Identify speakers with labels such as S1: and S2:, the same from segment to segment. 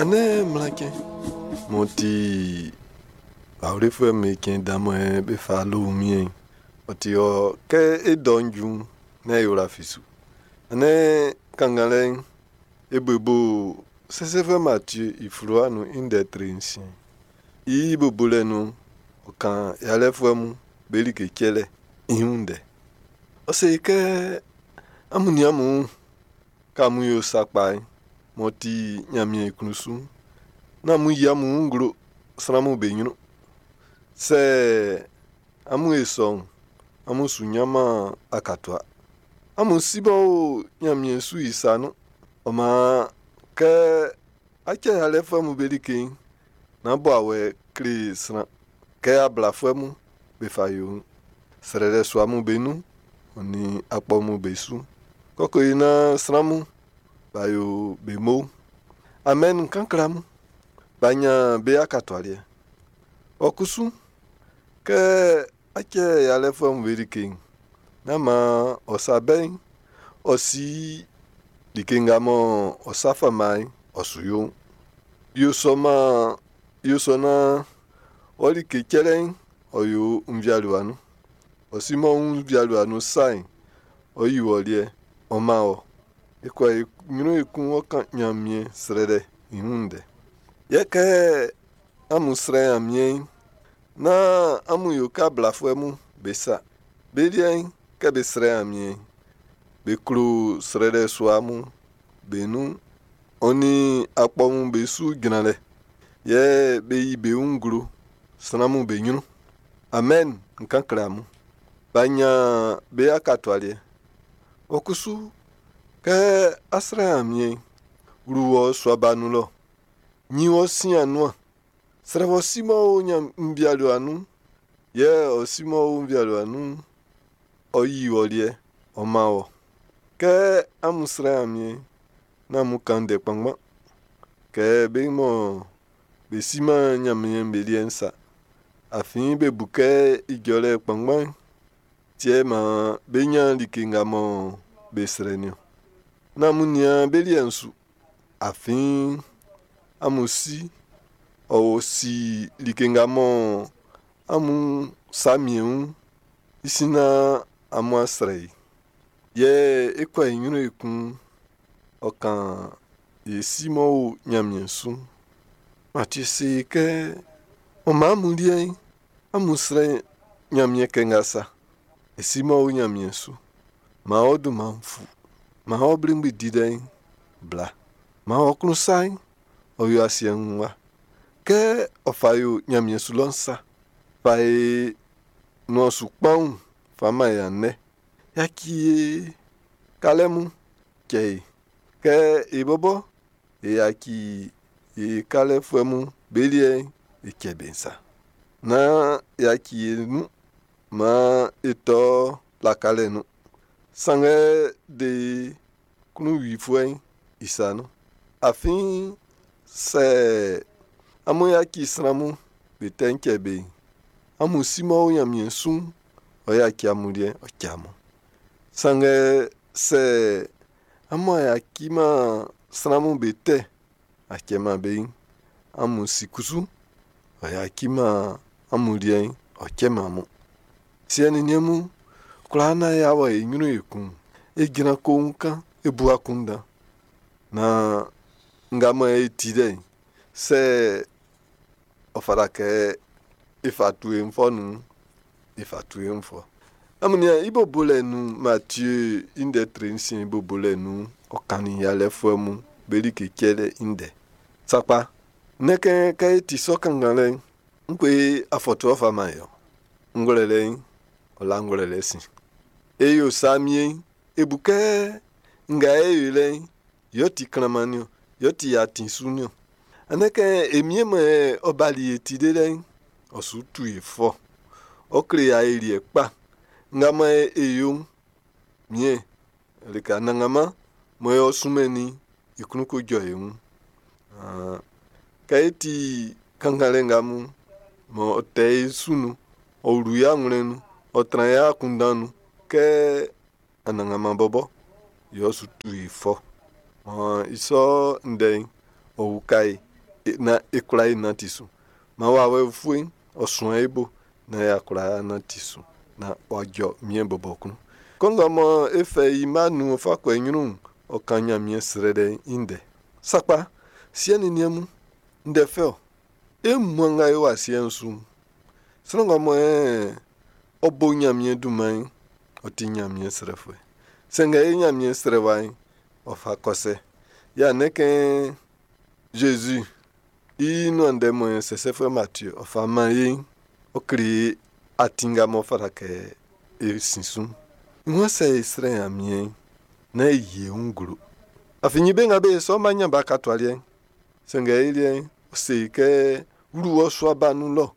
S1: Andɛ Mlan cɛn m'ɔ ti awlefuɛ'm be cɛn dan mɔ be fa lo wunmiɛn'n, ɔ ti ɔ kɛ e dɔ'n ju'n, nán e wla fi su. Andɛ kannganlɛ'n, e bo i bo Sɛsɛfuɛ Matie i fluwa nun i ndɛ tre nsiɛn. I bo bolɛ nun'n, ɔ kan yalɛfuɛ mun be like cɛlɛ i wun ndɛ. Ɔ se kɛ amun nian amun wun, kɛ amun yo sa kpa'n m'ɔ ti Ɲanmiɛn i klun su'n, nán amun yi amun wun nglo sran'm be ɲrun. Sɛ amun yo sɔ'n, amun su ɲanman akatua. Amun Si m'ɔ o Ɲanmiɛn su i sa nun. Ɔ maan, kɛ á cɛ́ yalɛfuɛ'm be like'n, nán bo awɛ kle sran kɛ ablafuɛ'm be fa yo'n. Srɛlɛ sua'm be nun, ɔ nin akpɔ'm be su. Kɛ ɔ ko yo naan sran'm b'a yo be mo'n. Amen, n kan kle amun, b'a ɲan be akatua liɛ. Ɔ kusu, kɛ á cɛ́ yalɛfuɛ'm be like'n, nán maan ɔ sa bɛ'n ɔ si like nga mɔ ɔ sa fama'n ɔ su yo'n. Yo sɔ maan yo sɔ naan ɔ like cɛlɛ'n ɔ yo nvialiɛ nun. Ɔ si m'ɔ wun nvialiɛ nun sa'n, ɔ yi wɔ liɛ, ɔ man wɔ. E kɔ e ɲrun ekun ɔ kan Ɲanmiɛn srɛlɛ i wun ndɛ. Yɛ kɛ amun srɛ Ɲanmiɛn'n, nán amun yo kɛ ablafuɛ mun be sa. Be liɛ'n, kɛ be srɛ Ɲanmiɛn'n, be klo srɛlɛ sua mun be nun, ɔ nin akpɔ mun be su jranlɛ. Yɛ be yi be wun nglo sran'm be ɲrun. Amen, n kan kle amun. B'a ɲan be akatua liɛ. Ɔ kusu, kɛ á srɛ́ Ɲanmiɛn'n, wlu wɔ sua ba nun lɔ. Ɲin wɔ sin anuan. Srɛ wɔ Si m'ɔ o nvialiɛ nun'n, yɛ ɔ Si m'ɔ o nvialiɛ nun'n, ɔ yi wɔ liɛ, ɔ man wɔ. Kɛ amun srɛ Ɲanmiɛn'n, nán amun kan ndɛ kpanngban. Kɛ be mɔ be siman Ɲanmiɛn'n be liɛ'n sa. Afin be bu kɛ ijɔlɛ kpanngban'n ti yɛ maan bé ɲán like nga mɔ be srɛ'n niɔn. Nán amun nian be liɛ'n su. Afin amun Si, ɔ si like nga mɔ amun sa miɛn wun'n, i sin naan amun a srɛ i. Yɛ e kɔ e ɲrun ekun, ɔ kan e Si m'ɔ o Ɲanmiɛn su'n. Matie se kɛ, ɔ maan amun liɛ'n, amun srɛ Ɲanmiɛn kɛ nga sa. E Si m'ɔ o Ɲanmiɛn su, maan ɔ dunman'n fu. Maan ɔ bligbli dilɛ'n bla. Maan ɔ klun sa'n, ɔ yo asiɛ'n wun wa. Kɛ ɔ fa yo Ɲanmiɛn su lɔ'n sa. Fa e nuan su kpanwun fa man e andɛ. Yaci e kalɛ mun cɛ e. Kɛ e bɔbɔ e yaci e kalɛfuɛ mun be liɛ'n e cɛ be'n sa. Nán yaci e nun maan e tɔ lakalɛ nun. Sanngɛ de e klunwifuɛ'n i sa nun. Afin sɛ amun yaci sran mun be tɛ'n cɛ be'n, amun Si m'ɔ o Ɲanmiɛn su'n, ɔ yaci amun liɛ'n ɔ cɛ amun. Sanngɛ sɛ amun a yaciman sran'm be tɛ a cɛman be'n, amun Si kusu, ɔ yaciman amun liɛ'n ɔ cɛman amun. Siɛ nin niɛn mun, kwlaa naan y'a wɔ e ɲrun ekun'n, e jran koun kan e bu akunndan. Naan nga mɔ e ti lɛ'n, sɛ ɔ fata kɛ e fa tu e fɔ nun'n, e fa tu e fɔ. Amun nian i bo bolɛ nun Matie i ndɛ tre nsiɛn i bo bolɛ nun'n, ɔ kannin yalɛfuɛ mun be like cɛlɛ i ndɛ. Sakpa, nɛ́n kɛ kɛ e ti sɔ kannganlɛ'n, ngue afɔtuɛ fa man e ɔ? Ngwlɛlɛ'n, ɔ la ngwlɛlɛ sin. E yo sa miɛn'n, e bu kɛ nga e yo lɛ'n, yɛ ɔ ti klanman'n niɔn, yɛ ɔ ti atin su'n niɔn. Andɛ kɛ e miɛn mɔ ɔ bali e ti delɛ'n, ɔ su tu e fɔ. Ɔ kle e ayeliɛ kpa nga mɔ e yo'n, miɛn, like anannganman mɔ ɔ sunmɛnnin i klun ko jɔ e wun. Kɛ e ti kannganlɛ nga mun, mɔ ɔ tɛ e su nun, ɔ wlu e awlɛn'n nun, ɔ tran e akunndan nun kɛ anannganman bɔbɔ yɛ ɔ su tu e fɔ. Maan i sɔ ndɛ'n, ɔ uka e. naan e kwla e nanti su. Maan wawɛ ufue'n ɔ suan e bo naan y'a kwla nanti su naan w'a jɔ Miɛn bɔbɔ klun. Kɔnguɛ mɔ e fɛ i mma nun ɔ fa kɔ e ɲrun'n, ɔ kan Ɲanmiɛn srɛlɛ'n i ndɛ. Sakpa, siɛ nin niɛn mun, ndɛ fɛ ɔ. E wunmuan nga e o asiɛ'n su'n, sran nga mɔ ɔ bo Ɲanmiɛn dunman'n, ɔ ti Ɲanmiɛn srɛfuɛ. Sanngɛ e Ɲanmiɛn srɛwa'n, ɔ fa kɔ sɛ. Yɛ andɛ kɛ Zezi i nuan ndɛ mɔ sɛsɛfuɛ Matie ɔ fa man e'n, ɔ kle e atin nga m'ɔ fata kɛ e sin su'n. I waan sɛ e srɛ Ɲanmiɛn'n, nán e yi e wun nglo. Afin be nga be sɔ b'a ɲan be akatua liɛ'n. Sanngɛ i liɛ'n, ɔ se e kɛ wlu wɔ sua ba nun lɔ,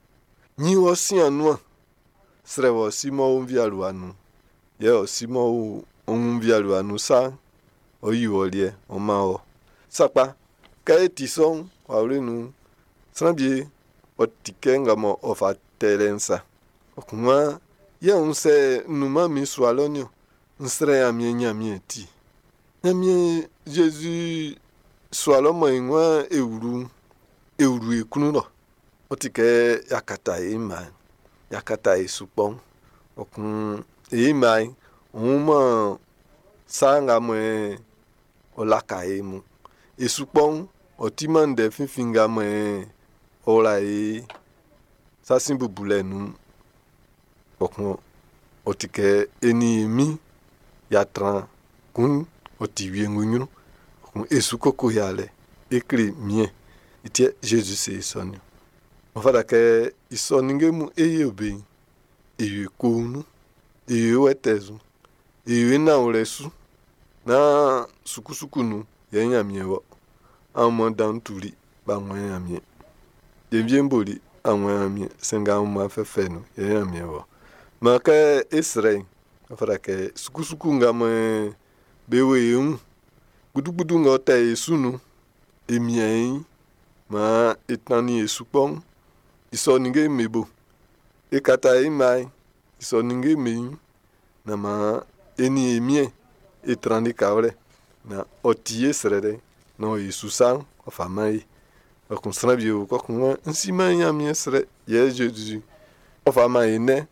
S1: ɲin wɔ sin anuan, srɛ wɔ si m'ɔ o nvialiɛ nun. Yɛ ɔ si m'ɔ o nvialiɛ nun sa'n, ɔ yi wɔ liɛ, ɔ man wɔ. Sakpa, kɛ e ti sɔ'n, wawle nun'n, sran wie ɔ ti kɛ nga mɔ ɔ fa tɛ lɛ'n sa. Ɔ kun yɛ n sɛ nunman min sua lɔ niɔn, n srɛ Ɲanmiɛn Ɲanmiɛn ti. Ɲanmiɛn Zezi sua lɔ mɔ e waan e wlu'n, e wlu e klun lɔ. Ɔ ti kɛ y'a kata e mma'n, y'a kata e sukpɔ'n. Ɔ kun e mma'n, ɔ sa nga mɔ ɔ laka e mun. E sukpɔ'n, ɔ timan ndɛ finfin nga mɔ ɔ wla e sa sin bubulɛ nun. Kpɔkun ɔ ti kɛ e nin e min y'a tran kun ɔ ti wiengu ɲrun. Kpɔkun e su koko yalɛ e kle miɛn. I ti Zezi se e sɔ niɔn. Ɔ fata kɛ i sɔ ninnge mun e yo be'n, e yo e koun nun, e yo e wɛtɛɛ su, e yo e nanwlɛ su. Nán sukusuku nun yɛ Ɲanmiɛn wɔ. Aunmuan dan'n tuli b'a wun Ɲanmiɛn. Jenvie'n boli a wun Ɲanmiɛn. Sanngɛ aunmuan fɛfɛ nun yɛ Ɲanmiɛn wɔ. Maan kɛ e srɛ'n, ɔ fata kɛ sukusuku nga mɔ be wo e wun, gbudugbudu nga ɔ tɛ e su nun'n, e mian e ɲin maan e tannin e sukpɔ'n i sɔ ninnge'm be bo. E kata e mma'n i sɔ ninnge'm be ɲrun. Naan maan e nin e miɛn e tran likawlɛ. Naan ɔ ti e srɛlɛ'n, naan ɔ yi su sa'n, ɔ fa man e. Kpɔkun sran wie o, kɔkun n siman Ɲanmiɛn srɛ. Yɛ Zezi ɔ fa man e nɛ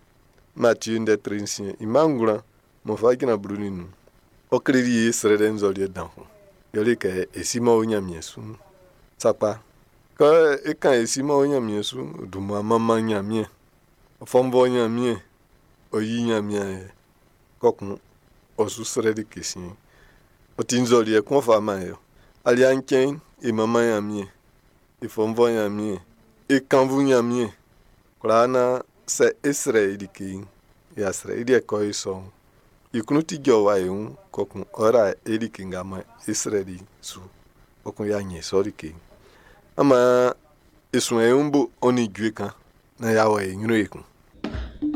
S1: Matie ndɛ tre nsiɛn i mma ngwlan m'ɔ fa jran 15. Ɔ kleli e srɛlɛ nzɔliɛ dan kun. Yɛle kɛ e si m'ɔ o Ɲanmiɛn su'n. Sakpa, kɛ e kan e si m'ɔ o Ɲanmiɛn su'n, dunman manman Ɲanmiɛn. Ɔ fɔnvɔ Ɲanmiɛn. Ɔ yi Ɲanmiɛn yɛ. Kɔkun ɔ su srɛ like siɛn. Ɔ ti nzɔliɛ kun ɔ fa man e. Aliɛ'n cɛn'n, e manman Ɲanmiɛn. E fɔnvɔ Ɲanmiɛn. E kannvu Ɲanmiɛn. Kwlaa naan sɛ e srɛ i like'n, y'a srɛ i liɛ kɔ e sɔ'n. I klun ti jɔwa e wun, kɔkun ɔ ra e like nga mɔ e srɛli su. Kɔkun y'a ɲɛn sɔ like'n. Ama e suan e wun bo ɔ nin jue kan naan y'a wɔ e ɲrun ekun.